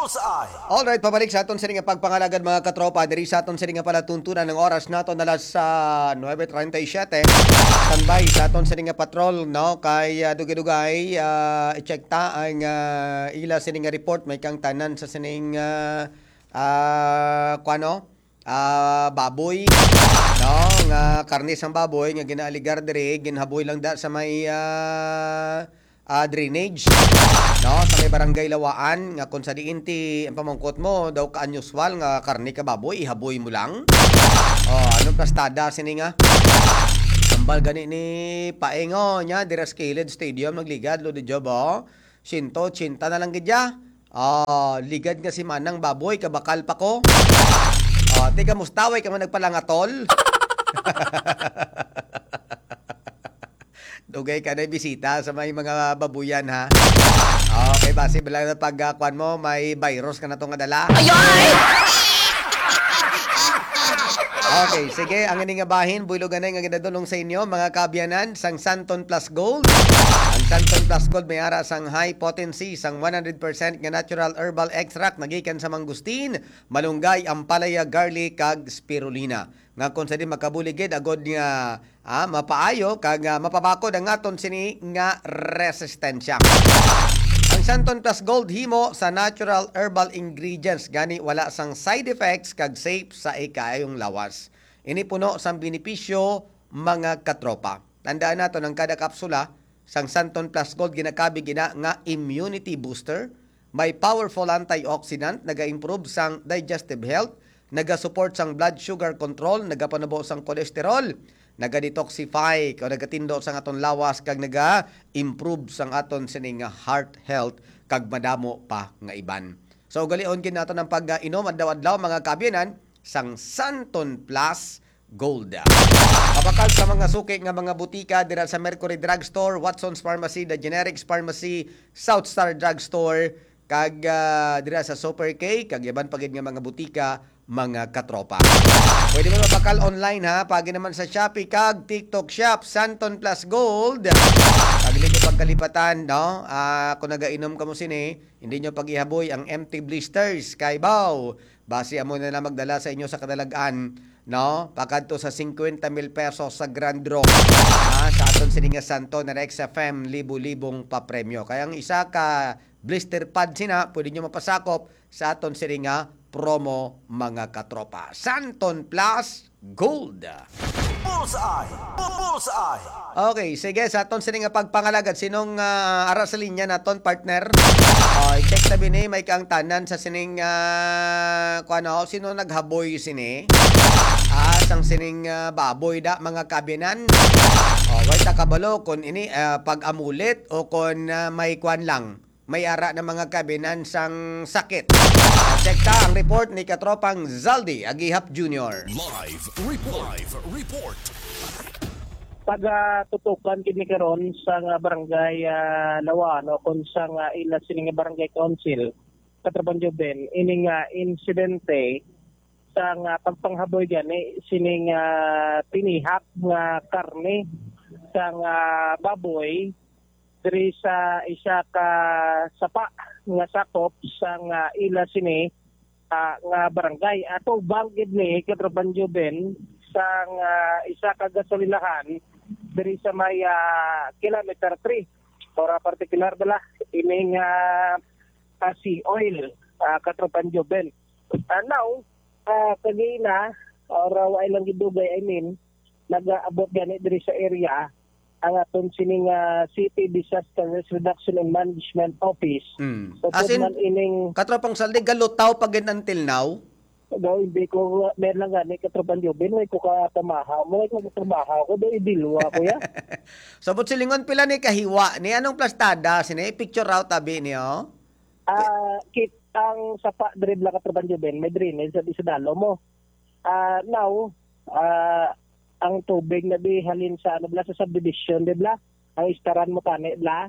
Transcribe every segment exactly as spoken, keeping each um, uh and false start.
Bullseye. Alright, pabalik sa aton sini nga pagpangalagad, mga katropa. Diri sa aton sini nga palatuntunan, ang oras nato na alas, ah, nuebe treinta y siete. Standby sa aton sini nga patrol, no? Kay, ah, dugay-dugay, ah, i-check ta ang, ah, ila sini nga report. May kang tanan sa sining, ah, ah, kuwano? Ah, baboy, no? Nga karne sang baboy nga ginaaligar diri, ginhaboy lang da sa may, ah, ah, drainage, no? Sa may barangay Lawaan, nga kung sa diin ti, ang pamangkot mo, daw ka-unusual nga karne ka baboy, ihaboy mo lang. Oh, anong plastada sini nga? Ambal gani ni Paingo niya, dira sa kilid stadium, nagligad, Lodi Job, oh. Siyento ochenta na lang gid ya. Ah, ligad nga si Manang Baboy, kabakal pa ko. Ah, ti kamusta, way ka man nagpalangatol? Dugay ka na bisita sa may mga babuyan, ha? Okay, basi ba lang na pag, ah, kwan mo, may virus ka na to nga dala? Ayoy! Okay, sige, ang ini nga bahin, buylog anay nga ginadulong sa inyo, mga kaabyanan, sang Santon Plus Gold. Ang Santon Plus Gold may ara sang high potency, sang one hundred percent nga natural herbal extract nagikan sa mangustin, malunggay, ampalaya, garlic, kag spirulina. Nga kung sa di makabulig gid, agod nga, ah, mapaayo kag, ah, mapabakod ang aton sini nga resistensya. Ang Santon Plus Gold himo sa natural herbal ingredients, gani wala sang side effects kag safe sa ikaayong lawas. Ini puno sang benepisyo, mga katropa. Tandaan naton, ang kada kapsula sang Santon Plus Gold ginakabig ina nga immunity booster, may powerful antioxidant, naga-improve sang digestive health, naga-support sang blood sugar control, nagapanubo sang cholesterol, naga-detoxify o nagatindo sang aton lawas, kag naga-improve sang aton sini nga heart health, kag madamo pa nga iban. So, ugalion gid naton ang pag-inom adlaw-adlaw, mga kaabyanan, sang Santon Plus Gold. Mabakal sa mga suki nga mga butika dira sa Mercury Drugstore, Watson's Pharmacy, The Generics Pharmacy, South Star Drugstore, kag, ah, dira sa Super K, kag iban pa gid nga mga butika, mga katropa. Pwede mo mabakal online, ha, pagi naman sa Shopee kag TikTok Shop, Santon Plus Gold. Pag di ko pagkalipatan, no? Ah, kung nagainom ka mo sini, hindi nyo pag-ihaboy ang empty blisters. Kay baw, basi amo na lang magdala sa inyo sa kadalagan, no? Pakadto sa singkwenta mil pesos sa Grand Draw. Ah, sa aton sini nga Santon X F M, libo-libong papremyo. Kaya ang isa ka blister pad sina, pwede nyo mapasakop sa aton sini nga promo, mga katropa. Santon Plus Gold. Bullseye! Bu-, Bullseye! Okay, sige, sa aton sini nga pagpangalagad, sinong, ah, ara sa linya naton, partner? Oh, i-check tabi ni, may kang tanan sa sining, ah, kuwan, oh, sino naghaboy sini? Ah, sang sining, ah, baboy da, mga kabinan. Oh, way ta kabalo kung ini, ah, pag-amulit o kung, ah, may kuwan lang, may ara na mga kabinan sang sakit. Check ta ang report ni Katropang Zaldi Agihap Junior. Live report. Live report. Pagatutukan kini karon sa nga barangay, ah, Lawaan o kon sa nga ila sini nga barangay council, Katropan Joven, ini nga insidente sa nga pagpanghaboy gani sining, ah, tinihak nga karne sa nga baboy diri sa isa ka sapa nga sakop sa nga ila sini, ah, nga barangay. Atubang gid ni, Katropan Joven, sa nga isa ka gasolinahan diri sa may, ah, kilometer three. Or, ah, partikular bala, ining, ah, ah, Sea Oil, ah, Katropan Joven. Ah, now, ah, kagina, or, ah, wa lang gidugay, I mean, nag-aabot gani diri sa area ang aton sining, ah, City Disaster Risk Reduction and Management Office. Mm. Upod As in, man ining Katropang Saldi, galutaw pa gid until now? Daw, hindi ko, meron lang gani, Katropan Joven, may ko katamaha mo, may ko katamaha ko, daw, idilwa ko ya. Sabot silingon, pila ni kahiwa ni? Anong plastada? Sini, picture out, tabi niyo? Ah, kit-, ang sapa diri bala, Katropan Joven, may drainage sa, sa dalo mo. Ah, now, ah, ang tubig na di halin sa, ano bala, sa subdivision, di bala? Ang istaran mo tani bala?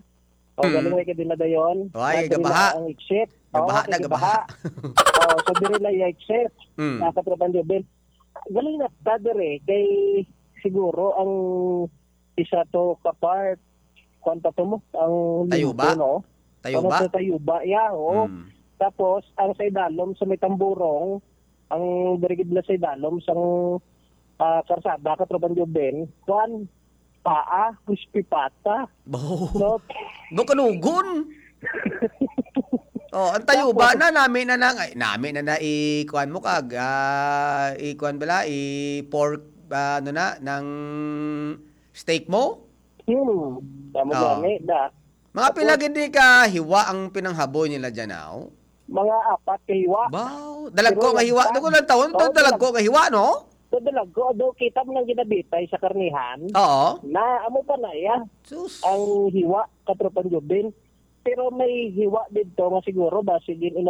O, Mm. galing may kadin na dayon. Ay, Na diri gabaha. na ang exit. Gabaha Oo, na, kay gabaha. gabaha. Oo, so diri na yung exit. Mm. Ah, Katropan Joven. Galing na ta diri, kay siguro ang isa to ka part, kwan pa to mo, ang Tayuba? linto, no? Tayuba? Ano to, Tayuba, ya, oo. Mm. Tapos, ang sa idalom sa may tamburong, ang diri gid na sa idalom sang, ah, karsada, Katropang Joven, kuan, paa, crispy pata. Bo. No? No, kanugon. Oh, ang tayuba na, nami na nang, ay, nami na na i-kuan mo kag, ah, i-kuan bala, i-pork, ah, ano na, ng steak mo? Hmm, tama Oo. gani, da. Mga pila gid ni ka hiwa ang pinanghaboy nila dyan, aw? Mga apat ka hiwa. Baw, dalagko Pero nga hiwa. lagkag. Doon ko lang taon, Oo, dalagko nga hiwa, no? So, dalagko, do, kita mo nang ginabitay sa karnihan. Oo. Na, amo pa na, iya. Sus. Ang hiwa, Katropang Joven. Pero may hiwa dito nga siguro ba, sige, ina